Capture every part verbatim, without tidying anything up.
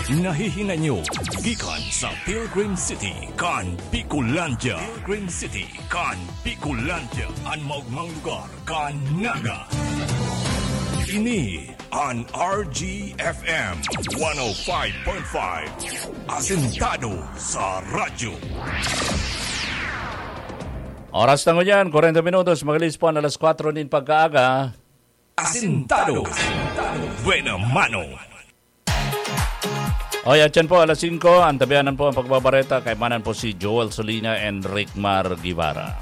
Nahihinanyo gikan sa Pilgrim City kan Bicolandia. Pilgrim City kan Bicolandia, an maogmang lugar kan Naga. Ini an R G F M one oh five point five, asentado sa radyo. Oras na ngunyan, kwarenta minutos, magalis po an alas kwatro nin pagkaaga. Asentado. Buena mano. Oy, atyan po, alas singko, antabianan po ang pagbabareta, kaibanan po si Joel Solina and Rickmar Guevara.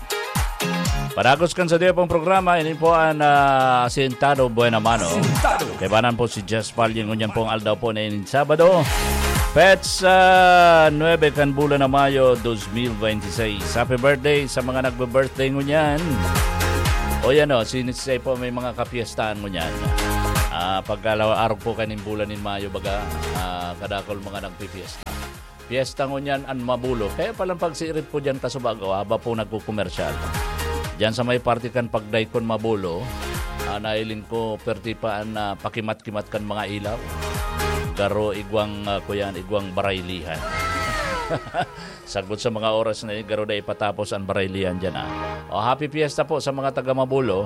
Padagos kan sa diya pong programa, ini po ang, ah, Asentado Buena Mano. Asentado. Kaibanan po si Jess Palyang, ngunyan pong aldaw po na ini, Sabado. Petsa nuebe kan bulan na Mayo, dos mil veintiseis. Happy birthday sa mga nagbe-birthday ngunyan. O yan o, since po may mga kapiestahan ngunyan. Ah, pagkalaw-, arog po kaning bulan nin Mayo, baga, ah, kadakol mga nagpipiesta. Piesta ngunyan an Mabulo. Kaya palang pagsirit po dyan, kasubago, haba po nagkukomersyal. Dyan sa may parte kan Pagdaykon Mabulo, ah, nailing ko, perti pa an, ah, pakimat-kimat kan mga ilaw. Garo igwang, ah, kuyan, igwang baraylihan. Sagkod sa mga oras na yun, garo na ipatapos ang baraylihan dyan, ah. O, happy fiesta po sa mga taga Mabulo.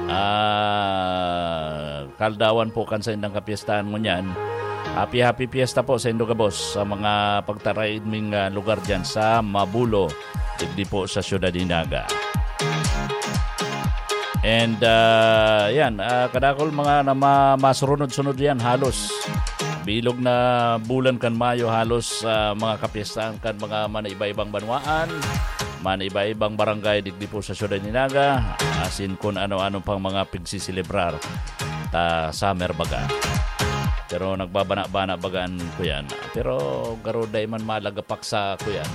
Ah, kaldawan po kan saindang kapiestahan ngunyan. Happy, happy fiesta po sa indo gabos, sa mga pagtaraid ming, ah, lugar dyan sa Mabulo, digdi po sa Siyudad ni Naga. And, ah, yan, ah, kadakol mga na ma-, masurunod-sunod yan, halos bilog na bulan kan Mayo, halos, ah, mga kapiestahan kan mga man-iba-ibang banwaan, man-iba-ibang barangay digdi po sa Siyudad ni Naga, asin kun ano-ano pang mga pigsiselebrar ta summer baga. Pero nagbabana-bana baga an kuyan. Pero garo dai man malagapak sa kuyan,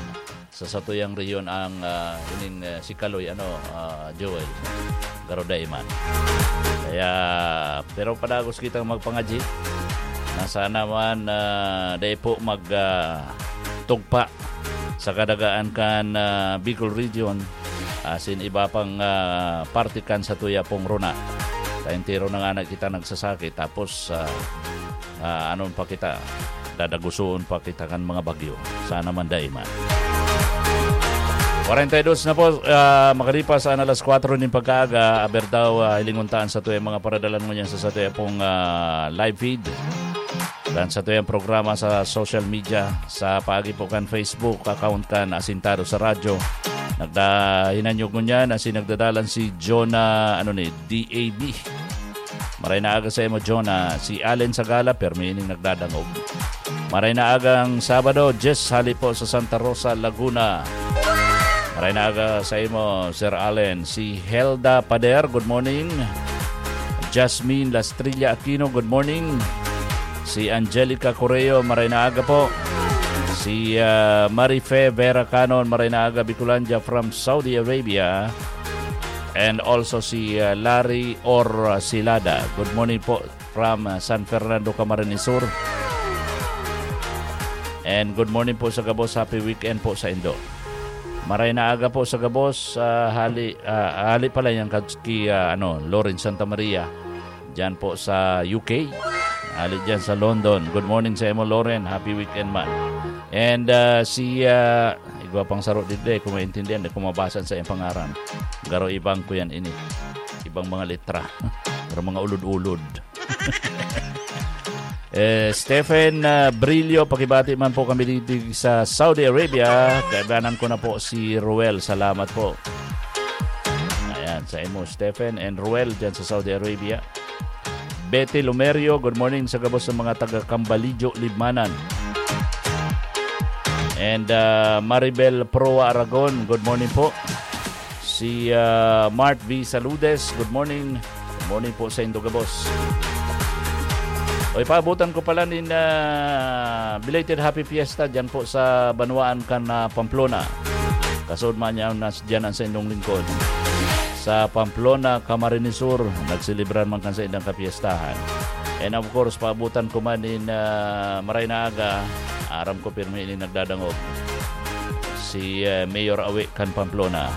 sa satuyang rehiyon ang, ah, ining, ah, si Kaloy, ano, ah, Joel. Garo dai man. Kaya, pero padagos kitang magpangadyi na sana man, ah, dai po mag, ah, tugpa sa kadagaan kan, ah, Bicol Region, asin iba pang, ah, parte kan satuya pong runa. Ta entero na ngani kita nagsasakit, tapos, ah, ah, anon pa kita, dadagusoon pa kita kan mga bagyo. Sana man dai man. Kwarenta y dos na po, ah, makalipas an alas kwatro nin pagkaaga, aber daw, ah, hilingon ta an satuyang mga paradalan ngunyan sa satuya pong, ah, live feed. Kan satuyang programa sa social media, sa paagi po kan Facebook account kan Asintado sa Radyo. Nagda-, hinanyog ngunyan asin nagdadalan si Jonah, ano ni, D A B. Maray na aga sa imo, Jonah. Si Allen Sagala, permi ining nagdadangog. Maray na agang Sabado, Jess, hali po sa Santa Rosa, Laguna. Maray na aga sa imo, Sir Allen. Si Helda Pader, good morning. Jasmine Lastrilla Aquino, good morning. Si Angelica Correo, maray na aga po. Si, ah, Marife Vera Canon, maray na aga, Bicolandia from Saudi Arabia. And also si, ah, Larry Orsilada. Good morning po from, ah, San Fernando, Camarines Sur. And good morning po sa gabos. Happy weekend po sa indo. Maray na aga po sa gabos. Ah, hali, ah, hali pala yan kad-, ki, ah, ano, Lawrence Santa Maria. Diyan po sa U K. Hali diyan sa London. Good morning sa imo, Lauren. Happy weekend man. And, ah, si, ah, igwa pang saro digdi, kung maintindihan, di ko mabasa sa iyang pangaran. Garo ibang ko yan ini. Ibang mga letra. Pero mga ulod-ulod. Eh, Stephen, ah, Brillo, pakibati man po kami dito sa Saudi Arabia. Kaibanan ko na po si Ruel. Salamat po. Ayan, sa imo, Stephen and Ruel, dyan sa Saudi Arabia. Betty Lumerio, good morning sa gabos sa mga taga Cambalijo, Libmanan. And, ah, Maribel Proa Aragon, good morning po. Si, ah, Mart V Saludes, good morning. Good morning po sa indo gabos. Oy, paabutan ko pala nin, ah, belated Happy Fiesta dyan po sa banwaan kan, ah, Pamplona. Kasod man yan, nas-, dyan ang sa indong lingkod. Sa Pamplona, Camarines Sur, nagselebrar man kan sa indang kapiestahan. And of course, paabutan ko man nin, ah, maray na aga, aram ko pirmi ini nagdadangog. Si, ah, Mayor Awe kan Pamplona.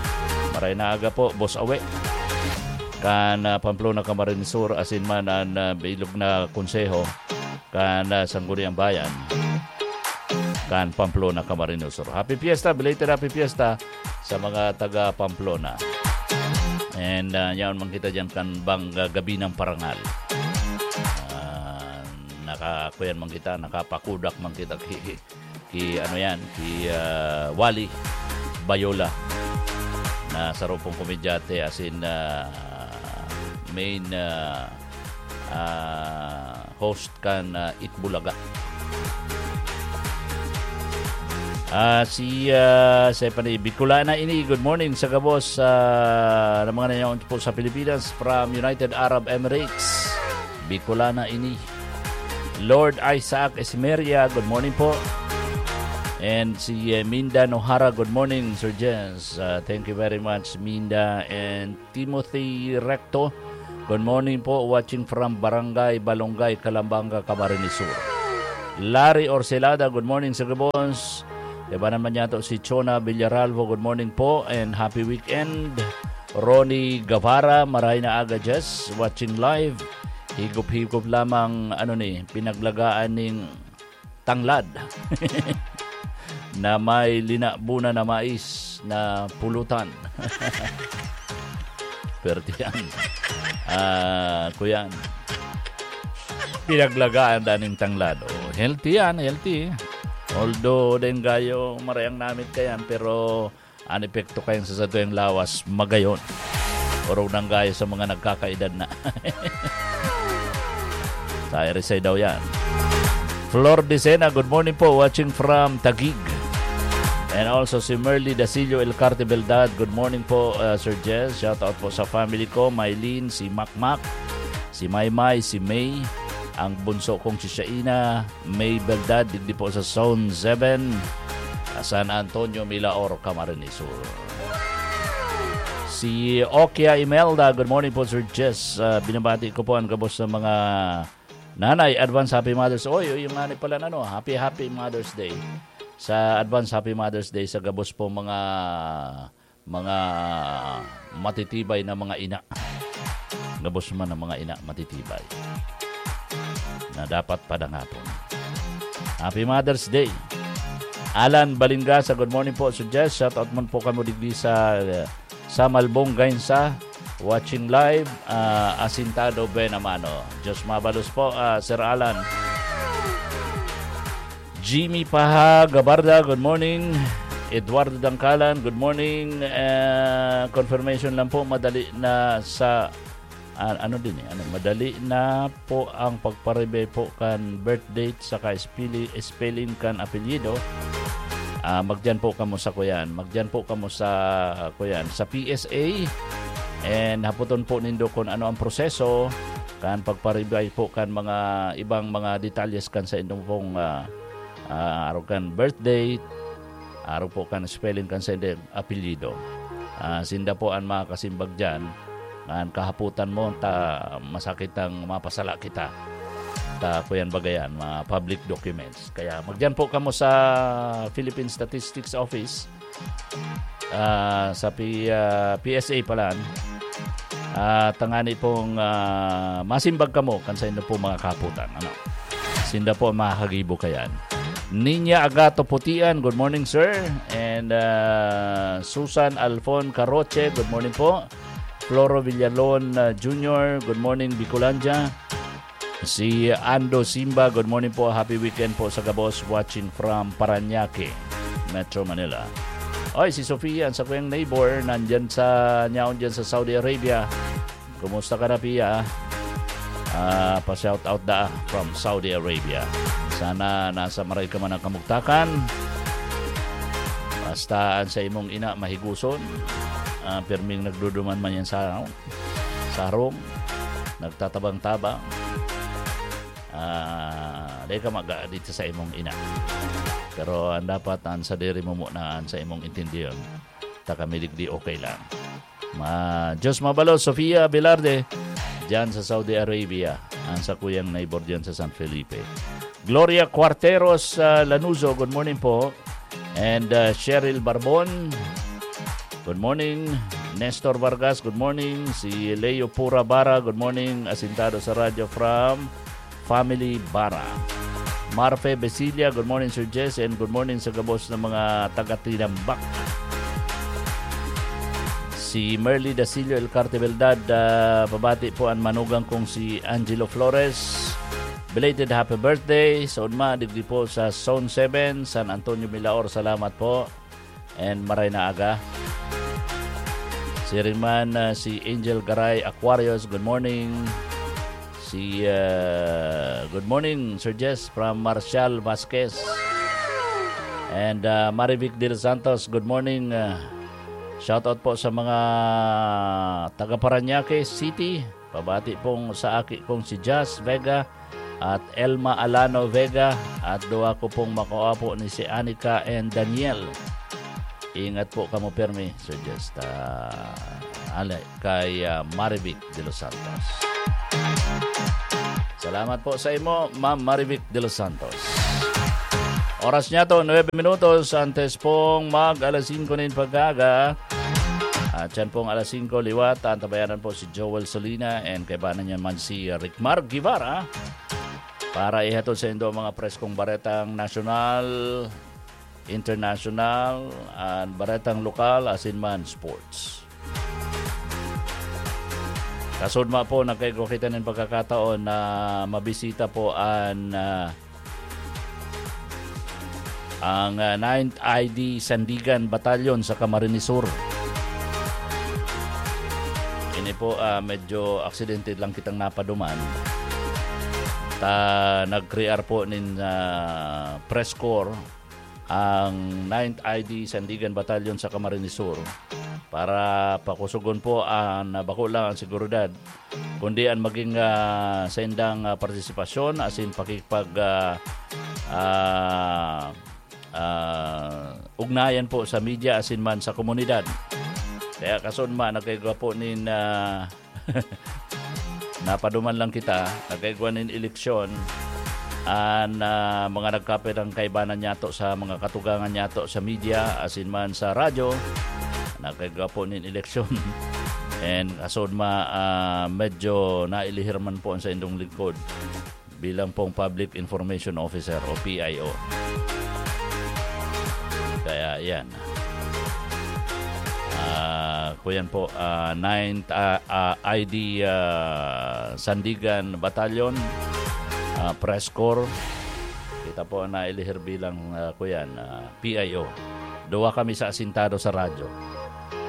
Maray na aga po, Boss Awe. Kan, ah, Pamplona, Camarines Sur, asin man an, ah, bilog na konseho kan, ah, Sangguniang Bayan. kan Pamplona, Camarines Sur. Happy Fiesta, belated Happy Fiesta sa mga taga Pamplona. And uh, yaon man kita dyan kan bang uh, gabi ng parangal. Uh, nakakuyan man kita, nakapakudak man kita ki, ki ano yan, ki uh, Wally Bayola na sa rupong komedyante as in uh, main uh, uh, host kan uh, Itbulaga. Ah, si uh, Stephanie Bicolana ini, good morning sa gabos uh, ng mga nangyayong po sa Pilipinas from United Arab Emirates. Bicolana ini. Lord Isaac Esmeria, good morning po. And si uh, Minda Nohara, good morning, Sir Jens. Uh, thank you very much, Minda. And Timothy Recto, good morning po, watching from Barangay Balongay, Calambanga, Camarines Sur. Larry Orcelada, good morning sa gabos. Iba naman yato si Chona Villaralvo, good morning po and happy weekend. Ronnie Guevara, maray na aga, Jess, watching live. Higop-higop lamang, ano ni, pinaglagaan ning tanglad na may linabunan na mais na pulutan. Perte yan. Ah, kuyan. Pinaglagaan daning tanglad. Oh, healthy yan, healthy. Although, dahil gayo, marayang namit kayan, pero an epekto kayan sa satuyang lawas, magayon. Orog nang gayo sa mga nagkakaedad na. Sa Irisay daw yan. Flor Decena, good morning po. Watching from Taguig. And also si Merly Dasillo Elcarte Beldad. Good morning po, uh, Sir Jess. Shout out po sa family ko. Mylene, si Makmak, si Maymay, si May. Ang bunso kong si Shaina, May Beldad, digdi po sa Zone seven, San Antonio, Milaor, Camarines Sur. Si Okia Imelda, good morning po, Sir Jess. Uh, binabati ko po ang gabos ng mga nanay. Advance Happy Mother's Day. Oy, oy, yung nanay pala na, no? Happy, happy Mother's Day. Sa advance Happy Mother's Day sa gabos po mga mga matitibay na mga ina. Gabos man ang mga ina matitibay na dapat padangapon. Happy Mother's Day. Alan Balingasa, good morning po, Sir Jess. Shout out man po kamo digdi sa uh, sa Malbong Gainsa. Watching live, uh, Asintado Benamano. Diyos mabalos po, uh, Sir Alan. Jimmy Paha Gabarda, good morning. Eduardo Dangkalan, good morning. Uh, confirmation lang po, madali na sa uh, ano din eh, ano, madali na po ang pagparibay po kan birth date saka spelling kan apelyido. Uh, magdiyan po kamo sa kuyan, magdiyan po kamo sa kuyan sa P S A. And haputon po nindo kung ano ang proseso kan pagparibay po kan mga ibang mga detalyes kan sa indong pong uh, uh, arog kan birth date, arog po kan spelling kan sa indong apelyido. Uh, sinda po ang makakasimbag dyan. Ngan kahaputan mo, ta masakit ang mapasala kita. Ta kuyan bagayan, mga public documents. Kaya magdiyan po kamo sa Philippine Statistics Office, ah, sa P, ah, P S A pala. Ah, tangani pong ah, masimbag kamo kan sa inyo po mga kaputan. Ano? Sinda po ang makakagibo kayan. Ninya Agato Putian, good morning, sir. And ah, Susan Alfon Caroche, good morning po. Floro Villalon ah, Junior, good morning, Bicolandia. Si Ando Simba, good morning po. Happy weekend po sa gabos. Watching from Parañaque, Metro Manila. Oy, si Sofia, ang sakuyang neighbor, nandyan sa, nyaon dyan sa Saudi Arabia. Kumusta ka na, Pia? Ah, pa-shout out da from Saudi Arabia. Sana nasa maray ka man ang kamugtakan. Basta ang sa imong ina mahiguson. Ah, pirming nagduduman man yan sa, ano, sa harong. Nagtatabang-tabang. Ah, dahil ka mag dito sa imong ina. Pero ang dapat, ang sadiri mo muna, ang sa imong intindiyon. Ta kami digdi okay lang. Ma, Diyos mabalo, Sofia Velarde, dyan sa Saudi Arabia. Ang sa kuyang neighbor dyan sa San Felipe. Gloria Cuarteros, ah, Lanuzo, good morning po. And ah, Cheryl Barbon, good morning. Nestor Vargas, good morning. Si Leo Pura Bara, good morning. Asintado sa radyo from Family Bara. Marfe Besilia, good morning, Sir Jess, and good morning sa gabos na mga taga-Tinambak. Si Merly Dasilio El Cartebeldad, ah, pabati po an manugang kong si Angelo Flores. Belated happy birthday. Sa Unma, digdi po sa Zone seven, San Antonio, Milaor. Salamat po. And maray na aga. Siring man, ah, si Angel Garay Aquarius, good morning. Si, ah, good morning, Sir Jess, from Marcial Vasquez. And, ah, Marivic De Los Santos, good morning. Ah, shoutout po sa mga taga Parañaque City. Pabati pong sa aki kong si Jazz Vega at Elma Alano Vega at duwa ko pong makaapo ni si Anika and Daniel. Ingat po kamo permi, Sir Jazz. Ta, ale, kay, ah, Marivic De Los Santos. Salamat po sa imo, Ma'am Marivic De Los Santos. Oras niya to, nuebe minutos antes pong mag alas singko nin pagkaaga. At yan pong alas singko liwat, antabayanan po si Joel Solina and kaibanan niya man si Rickmar Guevara para ihatod sa indo ang mga preskong baretang nasyonal, international, and baretang lokal, asin man sports. Kasudma po, nagkaigwa kita nin pagkakataon na mabisita po an, ah, ang, ah, Ninth I D Sandigan Battalion sa Camarines Sur. Ini po, ah, medyo aksidente lang kitang napaduman. Ta, nag-crear po nin, ah, press corps ang Ninth I D Sandigan Battalion sa Camarines Sur para pakusugon po ang, ah, bako lang ang seguridad, kundi ang maging, ah, saindang, ah, partisipasyon asin pakikipag, ah, ah, ah, ugnayan po sa media asin man sa komunidad. Kaya kasunma, nagkaigwa po nin, ah, napaduman lang kita, nagkaigwa nin eleksyon, an, ah, mga nagkapirang kaibanan niyato sa mga katugangan niyato sa media, asin man sa radyo, nagkaigwa po nin eleksyon. And kasunma, ah, medyo nailihir man po ang saindong lingkod bilang pong Public Information Officer o P I O. Kaya yan. Ah, kuyan po, ah, ninth, ah, ah, I D, ah, Sandigan Battalion, ah, Press Corps. Kita po ang nailihir bilang, ah, kuyan, ah, P I O. Duwa kami sa asintado sa radyo.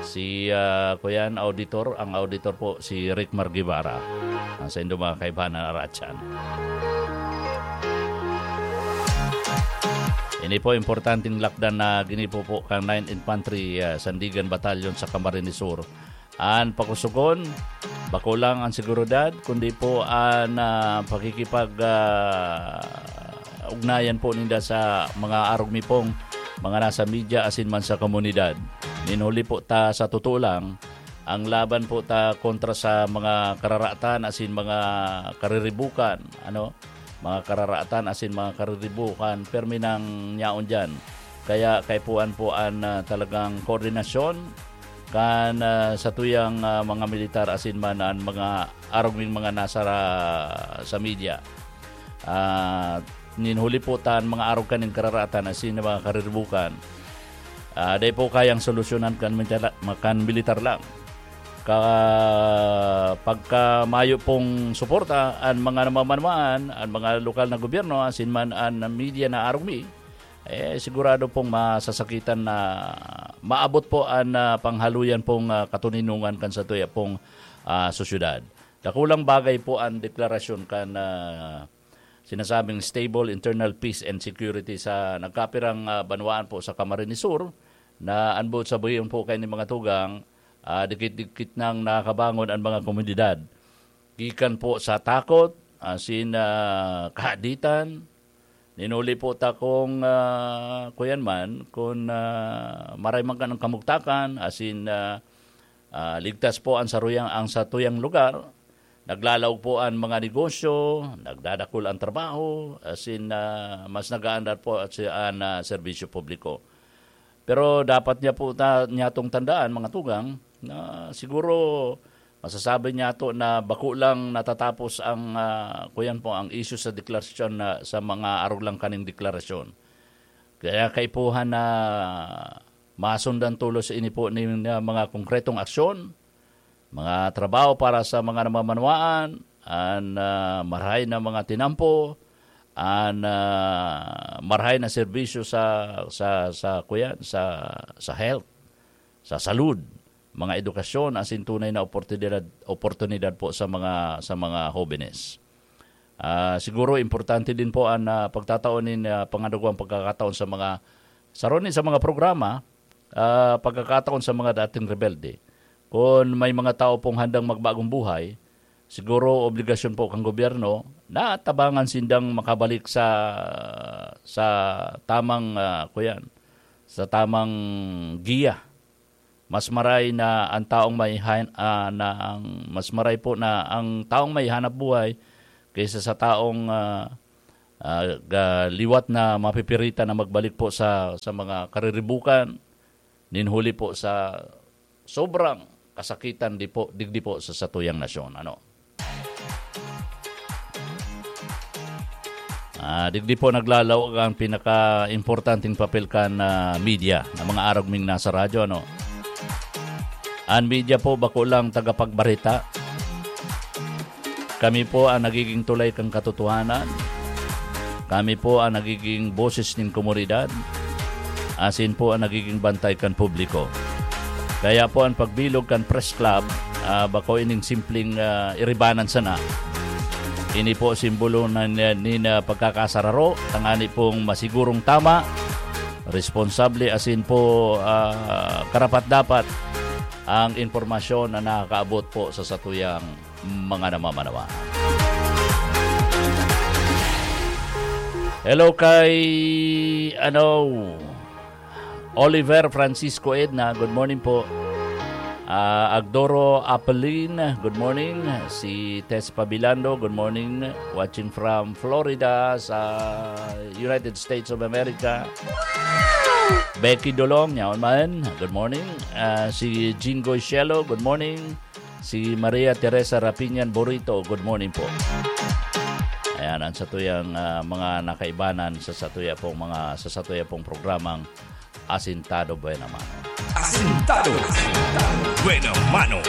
Si, ah, kuyan, auditor, ang auditor po, si Rick Margivara. Ang saindo mga kaibanan, aratyan. Ini po, importanteng lakdan na ginipo po kan Ninth Infantry, ah, Sandigan Battalion sa Camarines Sur. An pakusugon, bako lang an seguridad, kundi po an, ah, pakikipag, ah, ugnayan po ninda sa mga arog mi pong mga nasa media asin man sa komunidad. Nin huli po ta, sa totoo lang, ang laban po ta kontra sa mga kararatan asin mga kariribukan, ano, mga kararatan asin mga kariribukan, permi nang yaon diyan. Kaya kaipuhan po an, ah, talagang koordinasyon kan, ah, satuyang, ah, mga militar asin man an mga arog ning mga nasa ra-, sa media. Ah, nin huli po ta an mga arog kaning kararatan asin mga kariribukan. Ah, dai po kayang solusyonan kan milita-, kan militar lang. Ka-, pagka mayo pong suporta an mga namamanuan, an mga lokal na gobyerno, asin man an media na arog mi, eh, sigurado pong masasakitan na maabot po an, ah, panghaluyan pong, ah, katoninongan kan satuya pong, ah, sosyedad. Dakulang bagay po an deklarasyon kan, ah, sinasabing stable internal peace and security sa nagkapirang, ah, banwaan po sa Camarines Sur, na an boot sabihin po kaining mga tugang, ah, dikit-dikit nang nakakabangon an mga komunidad. Gikan po sa takot, asin, ah, kahaditan, nin huli po ta kung, ah, kuyan man, kun, ah, maray man kan kamugtakan, asin, ah, ah, ligtas po ang saruyang, ang satuyang lugar, naglalaog po ang mga negosyo, nagdadakul ang trabaho, asin, ah, mas nagaandar po at si, an, ah, serbisyo publiko. Pero dapat niya po ta-, niyatong tandaan, mga tugang, na siguro masasabi niyato na bako lang natatapos ang, ah, kuyan po, ang isyu sa deklarasyon na, sa mga arog lang kaning deklarasyon. Kaya kaipuhan na masundan tulos ini po nin, ah, mga konkretong aksyon, mga trabaho para sa mga namamanwaan, an, ah, marahay na mga tinampo, an, ah, marahay na serbisyo sa, sa, sa, kuyan, sa, sa health, sa salud, mga edukasyon, asin tunay na oportunidad, oportunidad po sa mga, sa mga hobenes. Ah, siguro importante din po an, ah, pagtatao nin, ah, pangadagwang pagkakataon sa mga, saro ni sa mga programa, ah, pagkakataon sa mga dating rebelde. Kun may mga tao pong handang magbagong buhay, siguro obligasyon po kan gobyerno na tabangan sindang makabalik sa, sa tamang, ah, kuyan, sa tamang giya. Mas maray na ang taong may han-, ah, na ang, mas maray po na ang taong may hanap buhay kaysa sa taong, ah, ah, ga-, liwat na mapipiritan na magbalik po sa, sa mga kariribukan, nin huli po sa sobrang kasakitan di po, digdi po sa satuyang nasyon. Ano? Ah, digdi po naglalawag ang pinaka-importanteng papel kan, ah, media, na mga arog ming nasa radyo, ano? An media po, bako lang tagapagbareta. Kami po ang nagiging tulay kan katotohanan. Kami po ang nagiging boses nin komunidad. Asin po ang nagiging bantay kan publiko. Kaya po an pagbilog kan Press Club, ah, bako ining simpleng, ah, iribanan sana. Ini po simbolo na, na, nin, ah, pagkakasararo, tangani pong masigurong tama, responsable, asin po, ah, karapat-dapat ang impormasyon na nakakaabot po sa satuyang mga namamanawaan. Hello kay, ano, Oliver Francisco Edna, good morning po. Ah, Agdoro Apelin, good morning. Si Tess Pabilando, good morning. Watching from Florida sa United States of America. Becky Dolong, yaon man, good morning. Ah, si Jingoy Shelo, good morning. Si Maria Teresa Rapiñan Burrito, good morning po. Ayan, ang satuyang, ah, mga nakaibanan sa satuya pong mga, sa satuya pong programang Asintado Buena Mano. Asintado Buena Mano.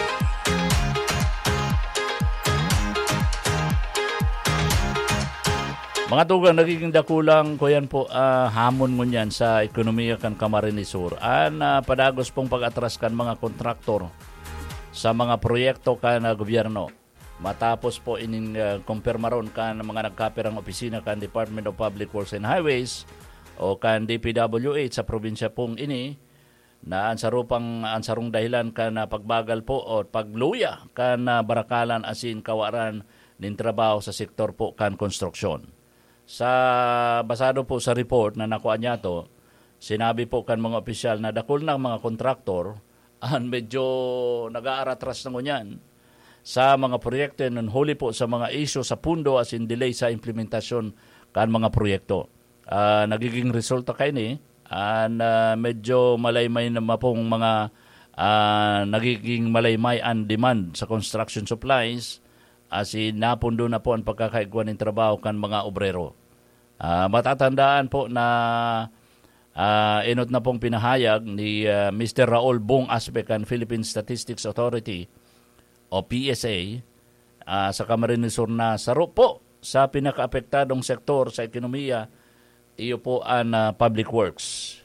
Mga tugang, nagiging dakulang, kuyan po, ah, hamon ngunyan sa ekonomiya kan Camarines Sur. An, ah, padagos pong pag-atras kan mga kontraktor sa mga proyekto kan, ah, gobyerno. Matapos po ining, ah, kumpirmaron kan mga nagkapirang opisina kan Department of Public Works and Highways o kan D P W H sa probinsya pong ini, na an sarupang, an sarong dahilan kan, ah, pagbagal po o pagluya kan, ah, barakalan asin kawaran nin trabaho sa sektor po kan konstruksyon. Sa, basado po sa report na nakuha niyato, sinabi po kan mga opisyal na dakul na mga kontraktor an medyo nag-aaratras na ngunyan sa mga proyekto, yan huli po sa mga isyu sa pundo asin delay sa implementasyon kan mga proyekto. Ah, nagiging resulta kaini, an, ah, medyo malaymay na mapong mga, ah, nagiging malaymay an demand sa construction supplies, asin napundo na po an pagkakaigwa nin trabaho kan mga obrero. Ah, matatandaan po na, ah, enot na pong pinahayag ni, ah, Mister Raul Bong Aspe kan Philippine Statistics Authority o P S A, ah, sa Camarines Sur na saro po sa pinakaapektadong sektor sa ekonomiya, iyo po an, ah, public works.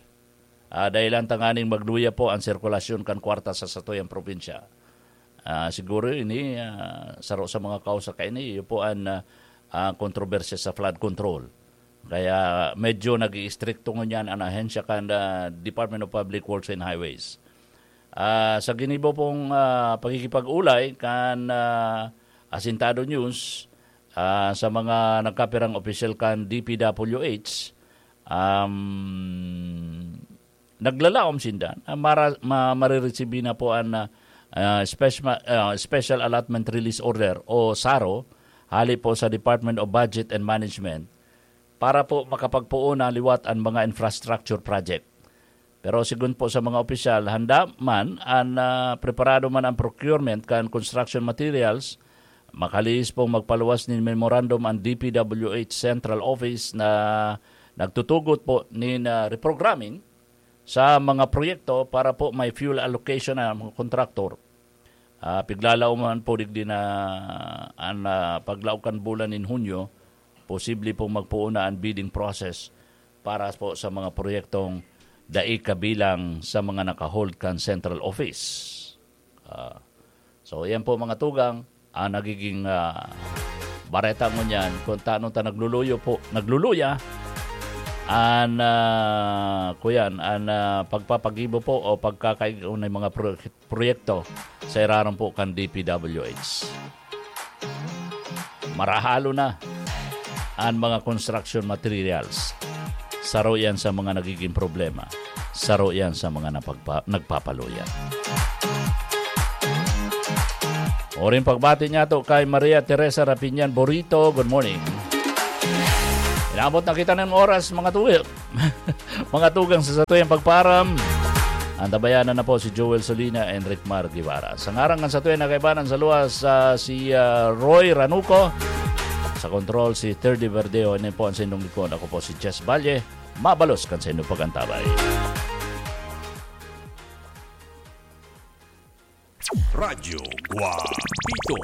Ah, dahilan tanganing magluya po an sirkulasyon kan kwarta sa satuyang probinsya. Ah, siguro ini, ah, saro sa mga kausa kaini, iyo po an, ah, ah, kontrobersya sa flood control. Kaya medyo nag-iistrikto ngunyan an ahensya kan, ah, Department of Public Works and Highways. Ah, sa ginibo pong, ah, pakikipag-ulay kan, ah, Asintado News, ah, sa mga nagkapirang opisyal kan D P W H, um, naglalaom sinda na mara-, ma-, mariresibi na po an, ah, ah, spesma-, ah, Special Allotment Release Order o saro hali po sa Department of Budget and Management para po makapagpoon na liwat an mga infrastructure project. Pero sigon po sa mga opisyal, handa man an, ah, preparado man ang procurement kan construction materials, makalihis pong magpaluwas nin memorandum ang D P W H Central Office na nagtutugot po nin, ah, reprogramming sa mga proyekto para po may fuel allocation ang mga kontraktor. Ah, piglalauman po digdi na an, ah, paglaog kan bulan nin Hunyo, posible pong magpoon na an bidding process para po sa mga proyektong dai kabilang sa mga naka-hold kan central office. Ah, so, yan po, mga tugang, ang nagiging, ah, bareta ngunyan kung tano ta nagluluyo po, nagluluya an, ah, kuyan, an, ah, pagpapagibo po o pagkakaigwa nin mga pro-, proyekto sa irarom po kan D P W H. Marahalo na an mga construction materials. Saro yan sa mga nagiging problema. Saro yan sa mga napagpa-, nagpapaluya. Oring pagbati niya to kay Maria Teresa Rapinyan Borito. Good morning. Inabot na kita ng oras, mga tuwi. Mga tugang sa satuyang pagparam. Antabayanan na po si Joel Solina and Rickmar Guevara. Sa ngaran ng satuyang nagkaibanan sa luwas, ah, si, ah, Roy Ranuco. Sa kontrol, si Terdy Verdeo. Ini po ang sindong likod. Ako po si Jess Valle. Mabalos kan sa inyong pag-antabay. Radyo Guapito.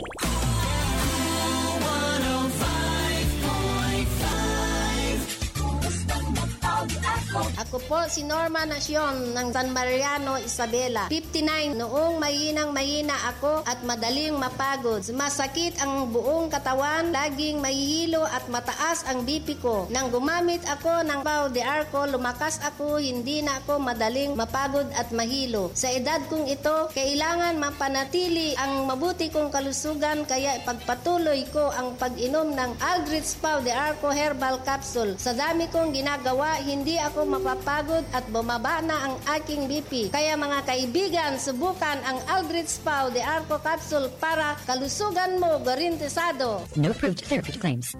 Ako po si Norma Nacion ng San Mariano, Isabela, fifty-nine. Noong mahinang mahina ako at madaling mapagod, masakit ang buong katawan, laging mahihilo at mataas ang B P ko. Nang gumamit ako ng Pau de Arco, lumakas ako, hindi na ako madaling mapagod at mahilo. Sa edad kong ito, kailangan mapanatili ang mabuti kong kalusugan, kaya ipagpatuloy ko ang pag-inom ng Aldrich Pau de Arco Herbal Capsule. Sa dami kong ginagawa, hindi ako mapapagod at bumaba na ang aking B P. Kaya, mga kaibigan, subukan ang Aldrich Pau de Arco Capsule para kalusugan mo garantisado. No approved therapy claims.